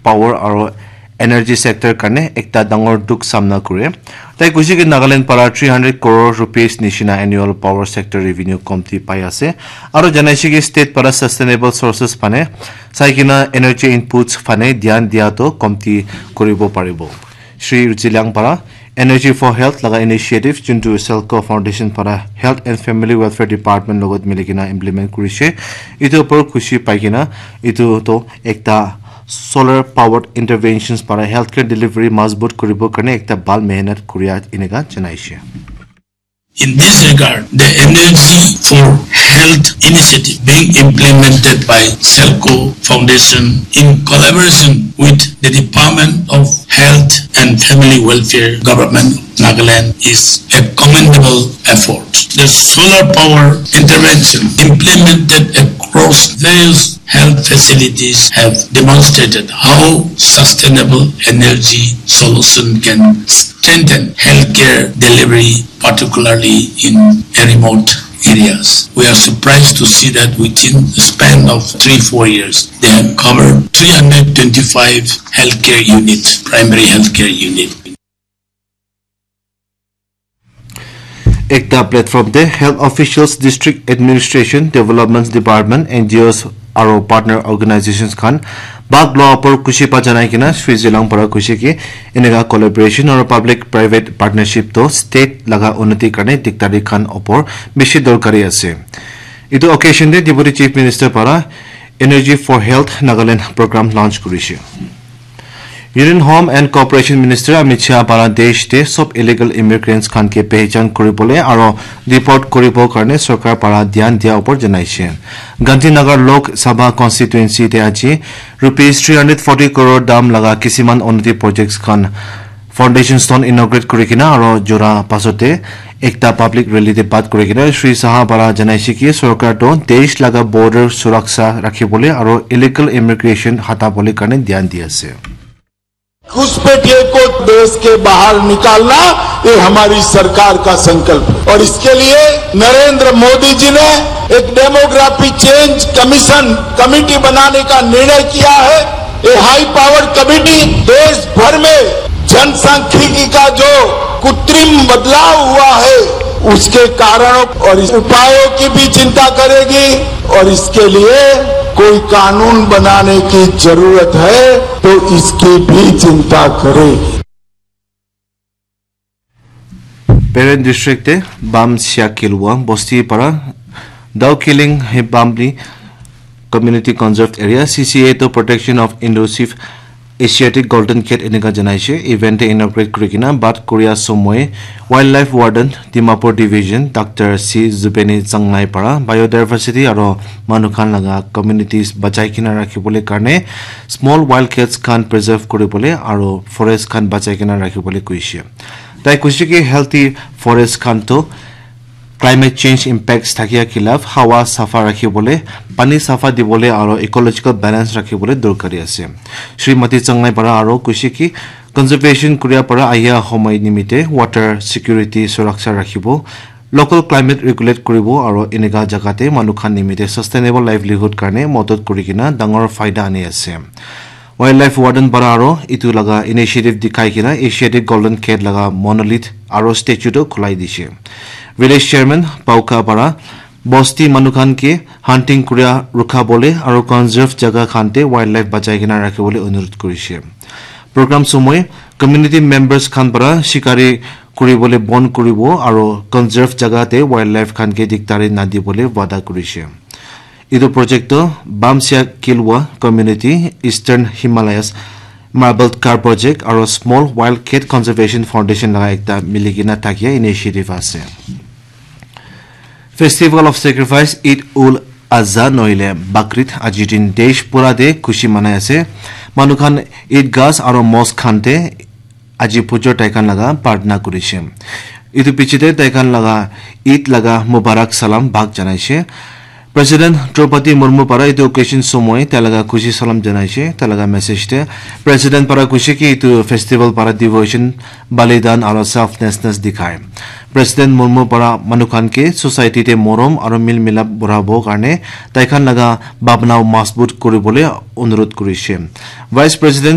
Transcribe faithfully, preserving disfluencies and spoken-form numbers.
power aro energy sector karne ekta dangor dukh samna kure. Tai koise ki Nagaland para three hundred crore rupees nishina annual power sector revenue komti pai ase. Aro janaise ki state para sustainable sources phane sai kena energy inputs phane dhyan dia to komti kuribo paribo. Shri Zeliang para Energy for Health laga initiative juntu Selco Foundation para Health and Family Welfare Department logot mili kena implement kurise. Itu opor khushi pai kena itu to ekta solar powered interventions para healthcare delivery mazbut kuribo karne ekta bhal mehnat kuria eneka janaise. In this regard, the Energy for Health initiative being implemented by Selco Foundation in collaboration with the Department of Health and Family Welfare, Government of Nagaland, is a commendable effort. The solar power intervention implemented across various health facilities have demonstrated how sustainable energy solution can strengthen healthcare delivery, particularly in remote areas. We are surprised to see that within the span of three, four years, they have covered three hundred twenty-five healthcare units, primary healthcare units. Ekta platform te health officials, district administration, developments department, N G Os aro partner organizations khan bhag loa opor khushi pa janai kena Shri Zeliang para koise ki eneka collaboration aro public private partnership to state laga unnati karne diktari khan opor bishi dorkari ase. Itu occasion te Deputy Chief Minister para Energy for Health Nagaland program launch kurise. Union Home and Cooperation Minister Amit Shah para desh te sob illegal immigrants khan ke pehchan kuribole aro deport kuribo karne sorkar para dhyan dia opor janaise. Gandhinagar Lok Sabha constituency te aji rupees three hundred forty crore dam laga kisiman unnati projects khan foundation stone inaugurate kuri kena aro jora pasote ekta public rally te bat kuri kena Shri Shah para janaise ki sorkar to desh laga border suraksha rakhibole aro illegal immigration hatabole karne dhyan di ase. घुसपैठिए को देश के बाहर निकालना, ये हमारी सरकार का संकल्प है। और इसके लिए नरेंद्र मोदी जी ने एक डेमोग्राफी चेंज कमीशन कमेटी बनाने का निर्णय किया है। ये हाई पावर कमेटी देश भर में जनसांख्यिकी का जो कृत्रिम बदलाव हुआ है, उसके कारणों और उपायों की भी चिंता करेगी और इसके लिए कोई कानून बनाने की जरूरत है तो इसकी भी चिंता करे। Peren district te Bam Siak Kilwa bosti para Dao Killing Hebamli Community Conserved Area, C C A, to Protection of Elusive Asiatic Golden Cat eneka janaise. Event te inaugurate kuri kena bat kuria somoy Wildlife Warden Dimapur Division Doctor C Zubeni Changnai para biodiversity aro manu khan laga communities bachai kena rakhibole karne small wild cats khan preserve kuribole aro forest khan bachai kena rakhibole koise. Tai koise ki healthy forest khan to climate change impacts thakia khilaf hawa safa rakhibole, pani safa dibole aro ecological balance rakhibole dorkari ase. Shrimati Changnai para aro koise ki conservation kuria para ahia homoi nimite water security suraksha rakhibo, local climate regulate kuribo aro eneka jaga te manu khan nimite sustainable livelihood karne modot kuri kena dangor faida ani ase. Wildlife Warden para aro itu laga initiative dikhai kena Asiatic Golden Cat laga monolith aro statue to khulai dishe. Village Chairman Pauka para bosti manu khan ke hunting kuria rukha bole aro conserve jaga khan te wildlife bachai kena rakhi bole onurut kurishe. Program somoy community members khan para shikari kuri bole bon kuribo aro conserve jaga te wildlife khan ke diktari na di bole wada kurishe. Itu project to Bamsia Kilwa Community, Eastern Himalayas Marble Car Project aro Small Wild Cat Conservation Foundation laga ekta mili kena thakia initiative ase. Festival of Sacrifice Eid ul Adha nohile Bakrid aji din desh pura te khushi manai ase. Manu khan Eid gas aro mosque khan te aji pujor tai khan laga pratna kurishe. Itu piche te tai khan laga Eid laga Mubarak salam bhag janaishe. President Draupadi Murmu para itu occasion somoy tai laga khushi salam janaishe. Tai laga message te President para koishe ki itu festival para devotion, balidan aro selflessness dikhai. President Murmu para manu khan ke society te morom aro mil milap borabo karne tai khan laga bhabna mazbut kuribole onurut kurishe. Vice President